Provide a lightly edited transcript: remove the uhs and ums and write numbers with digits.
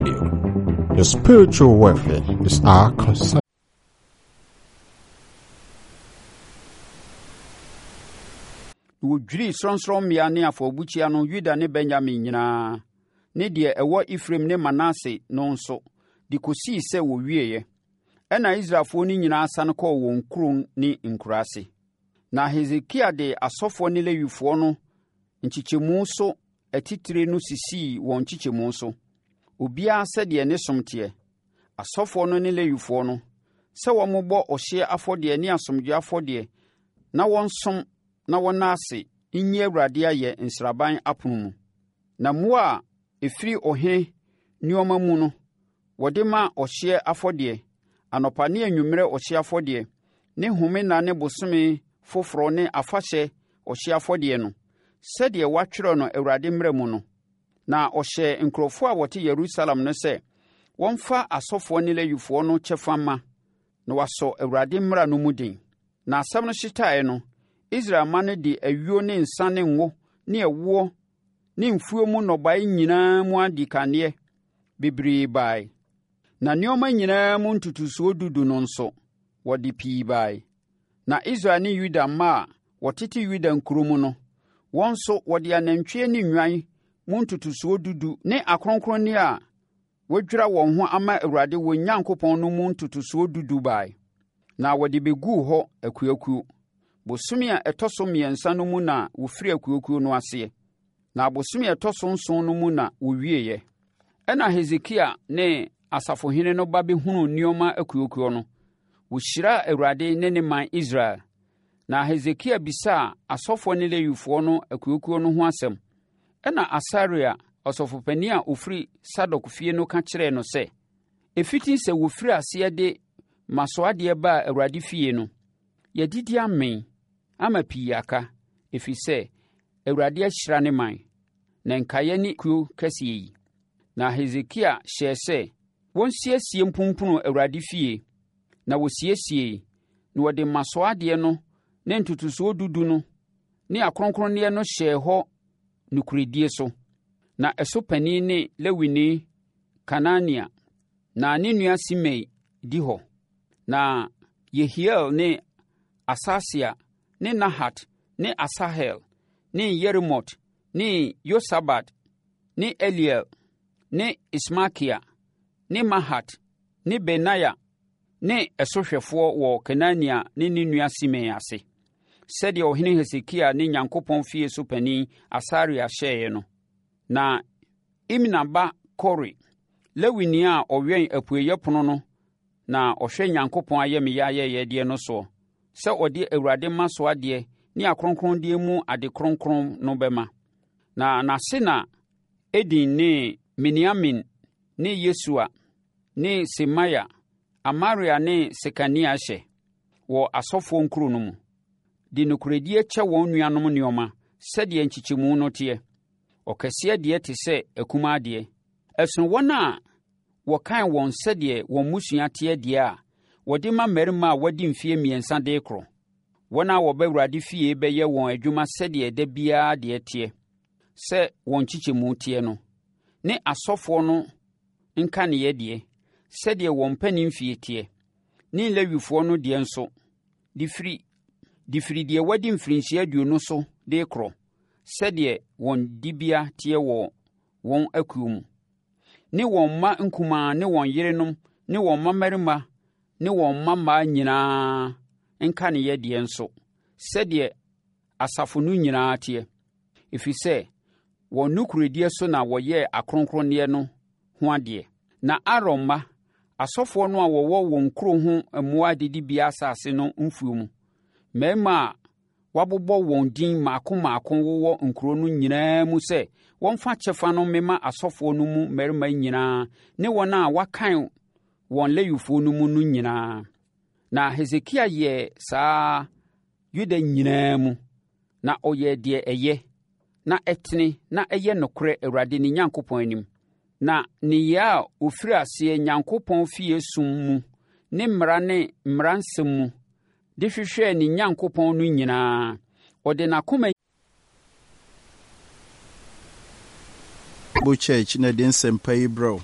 Your spiritual welfare is our concern. Na wɔdwirii sorɔnsorɔmmea ne afɔrebukyia no Yuda ne Benyamin nyinaa, ne deɛ ɛwɔ Efraim ne Manase no nso, de kɔsii sɛ wɔwieeɛ. Ɛnna Israelfoɔ no nyinaa sane kɔɔ wɔn nkuro ne nkuraase. Na Hesekia de asɔfoɔ ne Lewifoɔ no nkyekyɛmu so atitire no sisii wɔn nkyekyɛmu so, obiara sɛdeɛ ne som teɛ, asɔfoɔ no ne Lewifoɔ no, sɛ wɔmmobɔ ɔhyeɛ afɔdeɛ ne asomdwoeɛ afɔdeɛ na wɔnsom na wɔnna ase nyi Awurade ayɛ nsraban apono mu. Na mmoa a ɛfiri ɔhene nneɛma mu no, wɔde ma ɔhyeɛ afɔdeɛ, anɔpa ne anwummerɛ ɔhyeɛ afɔdeɛ, ne home nna ne bosome foforɔ ne afahyɛ ɔhyeɛ afɔdeɛ no, sɛdeɛ wɔatwerɛ no Awurade mmara mu no. Na ɔhyɛɛ nkurɔfoɔ a wɔte Yerusalem no sɛ wɔmfa asɔfoɔ ne Lewifoɔ no kyɛfa mma, na wɔasɔ Awurade mmara no mu den. Na asɛm no hyetaeɛ no, Israel mma no de ayuo ne nsã ne ngo ne ɛwoɔ ne mfuo mu nnɔbaeɛ nyinaa mu adikanneɛ bebree bae. Na nneɛma nyinaa mu ntotosoɔ dudu no nso, wɔde pii bae. Na Israel ne Yuda mma a wɔtete Yuda nkuro mu no, wɔn nso wɔde anantwie ne nnwan mu ntotosoɔ dudu ne akronkronneɛ a wɔadwira wɔn ho ama Awurade wɔn Nyankopɔn no mu ntotosoɔ dudu bae, na wɔde bɛguu hɔ akuakuo. Bosome a ɛtɔ so mmiɛnsa no mu na wɔfiri akuakuo no aseɛ, na bosome a ɛtɔ so nson no mu na wɔwieeɛ. Ɛnna Hesekia ne asafohene no ba bɛhunuu nneɛma akuakuo no, wɔhyiraa Awurade ne ne man Israel. Na Hesekia bisaa asɔfoɔ ne Lewifoɔ no akuakuo no ho asɛm. Ɛnna Asaria, ɔsɔfopanin a ɔfiri Sadok fie no ka kyerɛɛ no sɛ, Ɛfiti sɛ wɔfirii aseɛ de mmasoɔ baa Awurade fie no, yɛadidi amee ama pii aka, ɛfiri sɛ Awurade ahyira ne man, na nkaeɛ ne kuo kɛseɛ yi. Na Hesekia hyɛɛ sɛ wɔnsiesie mpumpunu Awurade fie, na wɔsiesiee, na wɔde mmasoɔ adeɛ no ne ntotosoɔ dudu no ne akronkronneɛ no hyɛɛ hɔ nokorɛdie so. Na ɛso panin ne Lewini Kanania, na ne nua Simei di hɔ. Na Yehiel ne Asasia ne Nahat ne Asahel ne Yerimot ne Yosabad ne Eliel ne Ismakia ne Mahat ne Benaia ne ɛsohwɛfoɔ wɔ Kenania ne ne nua Simei ase, sɛdeɛ ɔhene Hesekia ne Nyankopɔn fie so panin Asaria hyɛeɛ no. Na Imna ba Kore, Lewini a ɔwɛn apueeɛ pono no na ɔhwɛ Nyankopɔn ayamyɛ ayɛyɛdeɛ no soɔ, sɛ ɔde Awurade mmasoɔ adeɛ ne akronkronneɛ mu ade kronkron no bɛma. Na n'ase na Eden ne Miniamin ne Yesua ne Semaia, Amaria ne Sekania hyɛ, wɔ asɔfoɔ nkuro no mu, de nokorɛdie kyɛ wɔn nuanom nneɛma sɛdeɛ nkyekyɛmu no teɛ. Ɔkɛseɛ deɛ te sɛ akumaa deɛ. Ɛsono wɔn a wɔkan wɔn sɛdeɛ wɔn mmusua teɛ deɛ a wɔde ma mmarima a wɔadi mfeɛ mmiɛnsa de rekorɔ. Wɔn a wɔba Awurade fie bɛyɛ wɔn adwuma sɛdeɛ da biara deɛ teɛ, sɛ wɔn nkyekyɛmu teɛ no, ne asɔfoɔ no nkaneeɛ deɛ, sɛdeɛ wɔn mpanimfie teɛ, ne Lewifoɔ no deɛ nso, de firi de firi deɛ wadi mfirinhyia aduonu so de rekorɔ, sɛdeɛ wɔn dibea teɛ wɔ wɔn akuo mu, ne wɔn mma nkumaa ne wɔn yerenom ne wɔn mmammarima ne wɔn mmammaa nyinaa nkaneeɛ deɛ nso, sɛdeɛ asafo no nyinaa teɛ, ɛfiri sɛ wɔn nokorɛdie so na wɔyɛɛ akronkronneɛ no ho adeɛ. Na Aaron mma, asɔfoɔ no a wɔwɔ wɔn nkuro ho mmoa adidibea asase no mfuo mu, mmarima a wɔabobɔ wɔn din mmaako mmaako wowɔ nkuro no nyinaa mu sɛ wɔmfa kyɛfa no mmema asɔfoɔ no mu mmarima nyinaa ne wɔn a wɔakan wɔn Lewifoɔ no mu no nyinaa. Na Hesekia yɛɛ saa Yuda nyinaa mu, na ɔyɛɛ deɛ ɛyɛ, na ɛtene na ɛyɛ nokorɛ Awurade ne Nyankopɔn anim. Na nneyɛɛ a ɔfiri aseɛ Nyankopɔn fie som mu ne mmara ne mmara nsɛm mu de hwehwɛɛ ne Nyankopɔn no nyinaa, ɔde n'akoma Bible Church na ɛde nsɛmpa yi brɛ wo.